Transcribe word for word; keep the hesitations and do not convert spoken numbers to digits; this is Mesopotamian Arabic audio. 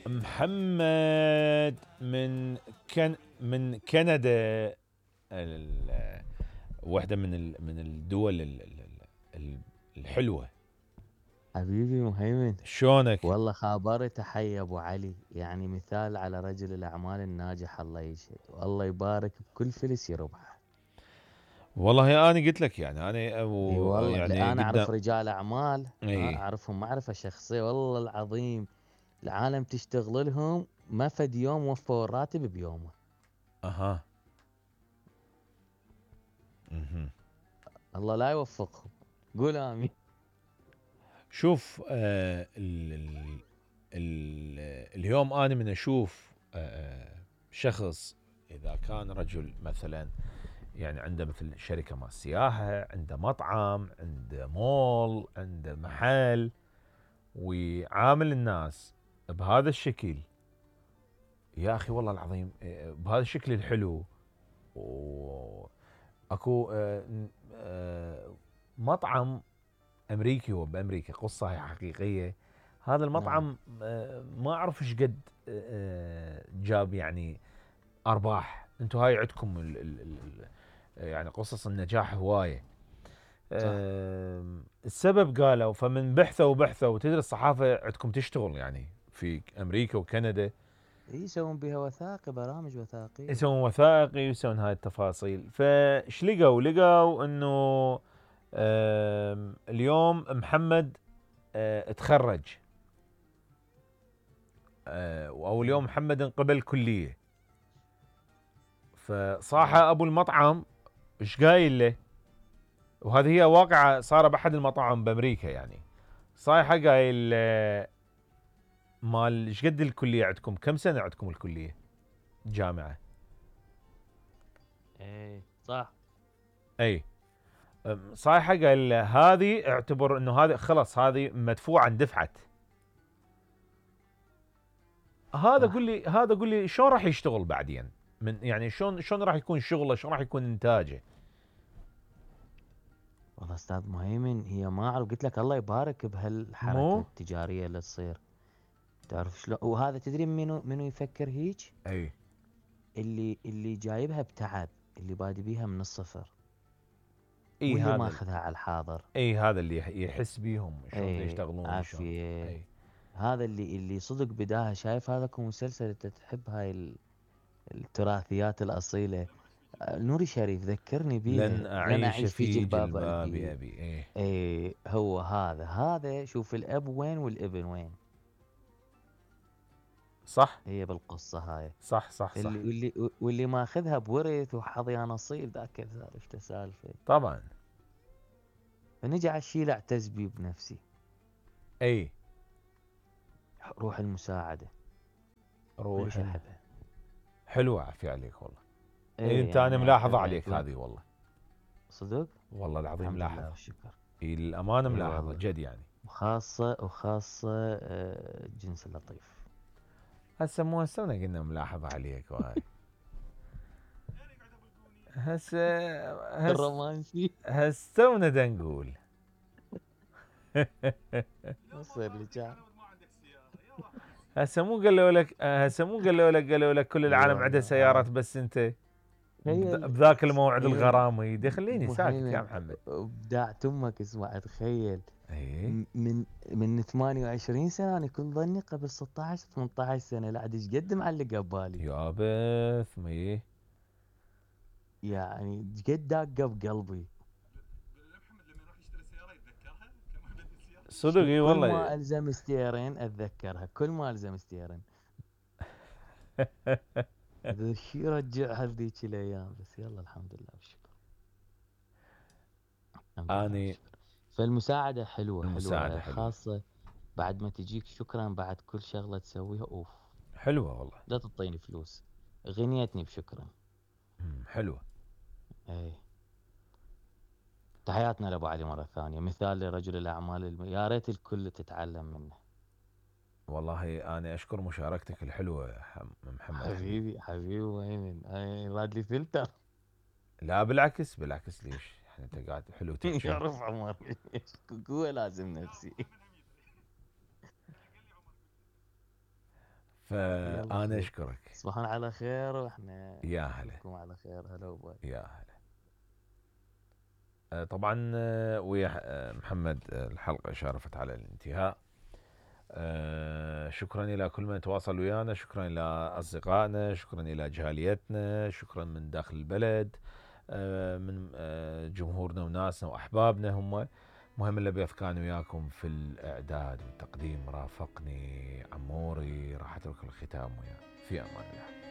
محمد من كن من كندا، ال- واحدة من ال- من الدول ال- ال- ال- الحلوة. حبيبي مهيمن، شلونك؟ والله خابر تحية ابو علي، يعني مثال على رجل الاعمال الناجح، الله يشهد والله يبارك بكل فلس يربحه. والله انا قلت لك يعني انا اي أبو والله، يعني لا انا قدام. اعرف رجال اعمال، ها اي اعرفهم معرفة شخصية والله العظيم، العالم تشتغل لهم ما فد يوم وفوا الراتب بيومه. اها مهم. الله لا يوفقهم، قول امين. شوف آه ال ال ال اليوم انا من اشوف آه شخص اذا كان رجل مثلا يعني عنده مثل شركة مال سياحة، عنده مطعم، عنده مول، عنده محل، ويعامل الناس بهذا الشكل، يا اخي والله العظيم آه، بهذا الشكل الحلو. واكو آه، آه، مطعم امريكي، هو بامريكا، قصه هي حقيقيه. هذا نعم المطعم آه، ما اعرف ايش قد آه، جاب يعني ارباح. انتم هاي عندكم ال ال ال يعني قصص النجاح هوايه. صح. آه، السبب قالوا، فمن بحثوا وبحثوا، وتدري الصحافه عندكم تشتغل يعني في امريكا وكندا، إيه يسوون بها وثائقي، برامج وثائقية. يسوون وثائقي ويسوون هاي التفاصيل. فايش لقوا؟ لقوا انه آم، اليوم محمد آه، تخرج، آه، او اليوم مم. محمد انقبل كليه. حلو. فصاحة ابو المطعم ايش قايل له؟ وهذه هي واقعة صار باحد المطاعم بامريكا يعني. صايحة قايل له مال ايش قد الكليه عندكم؟ كم سنه عندكم الكليه؟ جامعه. ايه صح. اي أم، صايحة قال له هذه اعتبر انه هذه خلاص هذه مدفوعه اندفعت. هذا قول صح لي هذا قول لي شلون راح يشتغل بعدين؟ من يعني شلون شلون راح يكون شغله؟ شلون راح يكون انتاجه؟ والله استاذ مهيمن، هي ما اعرف، قلت لك الله يبارك مو بهالحركة التجارية اللي تصير. تعرف شلون؟ وهذا تدري منو منو يفكر هيك؟ اي اللي اللي جايبها بتعب، اللي بادي بيها من الصفر، اي واللي هذا ال- ماخذها على الحاضر. اي هذا اللي يح- يحس بيهم شلون ايه يشتغلون شلون. عافية. اي هذا اللي اللي صدق بداها، شايف هذا كم مسلسل انت تحب هاي ال- التراثيات الأصيلة. آه، نوري شريف ذكرني لن بيها، لن اعيش أعيش في في جلباب جلباب أبي. ابي. اي ايه هو هذا هذا شوف الأب وين والابن وين. صح هي بالقصة هاي. صح صح اللي صح. واللي واللي ماخذها بورث وحظي نصيب، ذاك سالفته سالفة. طبعا. فنجي على الشي لا اعتز بيه بنفسي، اي روح المساعدة، روح كلش ال- أحبها. حلوه عافية عليك والله. إيه ايه انت انا يعني ملاحظه أحبها عليك دون هذه والله. صدق. والله العظيم الحمد لله ملاحظه. والشكر. إيه الامانه اي ملاحظه والله. جد يعني. وخاصة وخاصة آه، الجنس اللطيف. هسه مو هسه قلنا ملاحظه عليك وهاي. هسه هسه الرومانسي. هسه دا نقول. يصير لي كان. هسه مو قالوا لك هسه مو قالوا لك قالوا لك كل اي العالم عنده والله سيارات اه. بس انت بذ- تخيل. بذاك الموعد تخيل الغرامي. دي خليني ساكت يا مهيمن، محمد. ابداع تمك، اسمع تخيل. ايه م- من من ثمانية وعشرين سنة انا كنت ظني قبل ستة عشر ثمانية عشر سنة، لا عاد ايش قد معلق ببالي. يا بث ما ايه. يعني ايش قد داقة بقلبي. صدق شو اي كل والله. ما الزم ستيرين اتذكرها، كل ما الزم ستيرين. هذا الشيء يرجعها لذيك الايام، بس يلا الحمد لله والشكر. الحمد لله اني والشكر. فالمساعدة حلوة المساعده حلوة، حلوه. خاصة بعد ما تجيك شكرا بعد كل شغلة تسويها، اوف. حلوه والله. لا تعطيني فلوس، غنيتني بشكرا. مم، حلوه. اي. تحياتنا لابو علي مرة ثانية، مثال لرجل الاعمال الم... يا ريت الكل تتعلم منه. والله انا اشكر مشاركتك الحلوه يا حم- محمد حبيبي. حبيبي حبيبي وين راد لي فلتر. لا بالعكس بالعكس، ليش يعني انت قاعد حلو تحكي. يعرف عمر قوة لازم نفسي. يلا فانا خير. اشكرك. تصبحون على خير واحنا يا هلا. نشوفكم على خير. هلا وباي. يا هلا. آه، طبعا آه، ويا آه، محمد آه، الحلقة شارفت على الانتهاء. آه، شكرا إلى كل من تواصل ويانا، شكرا إلى أصدقائنا، شكرا إلى جاليتنا، شكرا من داخل البلد، آه، من آه، جمهورنا وناسنا وأحبابنا. هم مهم اللي بيث كان وياكم في الإعداد والتقديم. رافقني عموري، راح أترك الختام وياه. في أمان الله.